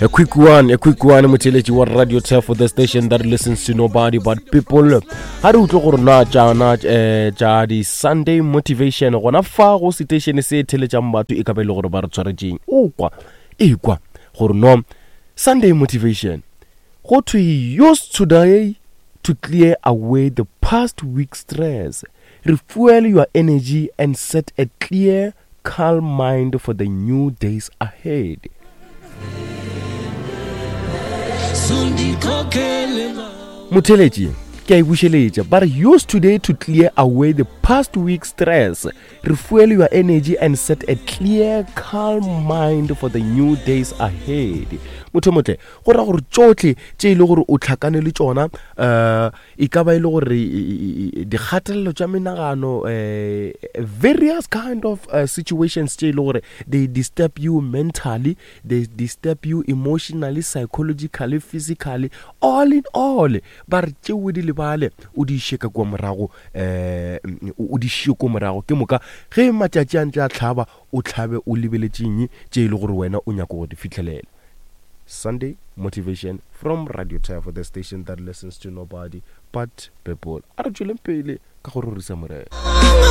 A quick one, a quick one, motheletši wa Radio Turf, the station that listens to nobody but people. Ha re utlwe gore na tšana eh, tša di Sunday motivation gona fa go station se theletšang batho e ka ba e le gore ba re tshwaretšeng. O kwa, e kwa gore no Sunday motivation. Go thwe use today to clear away the past week stress. Refuel your energy and set a clear calm mind for the new days ahead. Motheletši, ke a e bušeletša. Ba re use today to clear away the past week stress. Refuel your energy and set a clear, calm mind for the new days ahead. Motho motle, go ra gore tšohle tše e le gore o tlhakane le tšona um e ka ba e le gore dikgatelelo tša menagano um various kind of uh, situations tše e le gore they disturb you mentally, they disturb you emotionally, psychologically, physically, all in all, ba re tšeo di lebale o di iše ka kua morago um o di šie ko morago. Ke moka ge matšatši a ntse a hlaba, o hlabe o lebeletšeng tše e le gore wena o nyaka go di fihlelela. Sunday motivation from Radio Tafo, the station that listens to nobody but people. A re tšweleng pele ka go rorisa Morena.